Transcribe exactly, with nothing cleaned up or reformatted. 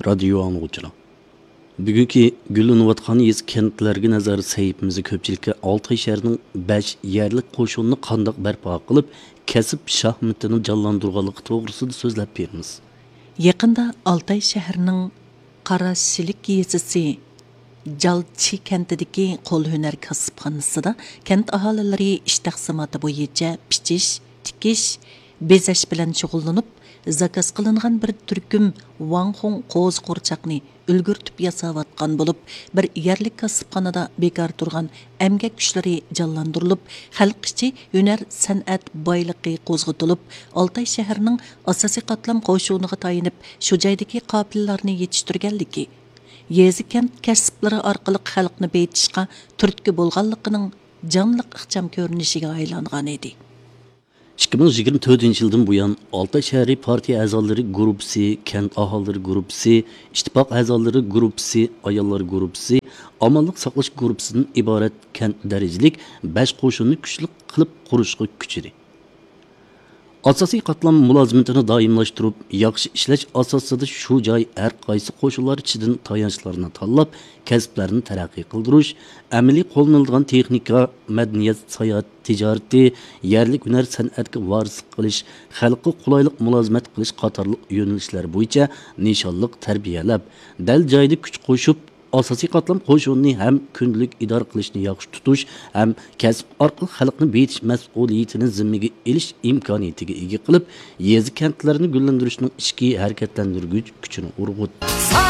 رادىيو ئاڭلىغۇچىلار، بۈگۈنكى گۈللىنىۋاتقان يېزا كەنتلەرگە نەزەر سەھىپىمىزدە كۆپچىلىككە ئالتاي شەھىرىنىڭ بەش يەرلىك قوشۇنىنى قانداق بەرپا قىلىپ، كەسىپ شاھمىتىنى جانلاندۇرغانلىقى توغرىسىدا سۆزلەپ بېرىمىز. يېقىندا ئالتاي شەھىرىنىڭ قاراشىلىك يېزىسى جالچى كەنتىدىكى قول ھۈنەر كاسىپخانىسىدا كەنت ئاھالىلىرى ئىش تەقسىماتى بويىچە پىچىش، تىكىش، بېزەش بىلەن شۇغۇللىنىپ، زاكاز قىلىنغان بىر تۈركۈم ۋاڭخۇڭ قوزا قورچاقنى ئۈلگۈرتۈپ ياساۋاتقان بولۇپ، بىر يەرلىك كاسىپخانىدا بىكار تۇرغان ئەمگەك كۈچلىرى جانلاندۇرۇلۇپ، خەلق ئىچى ھۈنەر سەنئەت بايلىقى قوزغىتىلىپ، ئالتاي شەھىرىنىڭ ئاساسىي قاتلام قوشۇنىغا تايىنىپ، شۇ جايدىكى قاپىلىلەرنى يېتىشتۈرگەنلىكى، يېزا كەنت كەسىپلىرى ئارقىلىق خەلقنى بېيىتىشقا تۈرتكە بولغانلىقىنىڭ جانلىق ئىخچام كۆرۈنۈشىگە ئايلانغان ئىدى. ئىككى مىڭ يىگىرمە تۆتىنچى يىلدىن بۇيان، ئالتاي شەھىرى پارتىيە ئەزالىرى گۇرۇپپىسى، كەنت ئاھالىلىرى گۇرۇپپىسى، ئىتتىپاق ئەزالىرى گۇرۇپپىسى، ئاياللار گۇرۇپپىسى، ئامانلىق ساقلاش گۇرۇپپىسىدىن ئىبارەت كەنت دەرىجىلىك بەش قوشۇننى كۈچلۈك قىلىپ قۇرۇشقا كۈچىدى. ئاساسىي قاتلام مۇلازىمىتىنى دائىملاشتۇرۇپ، ياخشى ئىشلەش ئاساسىدا شۇ جاي ھەر قايسى قوشۇنلار ئىچىدىن تايانچلارنى تاللاپ، كەسىپلەرنى تەرەققىي قىلدۇرۇش، ئەمەلىي قوللىنىلىدىغان تېخنىكا، مەدەنىيەت، ساياھەت، تىجارىتى، يەرلىك ھۈنەر سەنئەتكە ۋارىسلىق قىلىش، خەلققە قولايلىق مۇلازىمەت قىلىش قاتارلىق يۆنىلىشلەر بويىچە نىشانلىق تەربىيەلەپ، دەل جايىدا كۈچ قوشۇپ، ئاساسىي قاتلام قوشۇنىنى ھەم كۈندىلىك ئىدارە قىلىشنى ياخشى تۇتۇش ھەم كەسىپ ئارقىلىق خەلقنى بېيىتىش مەسئۇلىيىتىنى زىممىگە ئېلىش ئىمكانىيىتىگە ئىگە قىلىپ، يېزا كەنتلەرنى گۈللەندۈرۈشنىڭ ئىچكى ھەرىكەتلەندۈرگۈچ كۈچىنى ئۇرغۇت.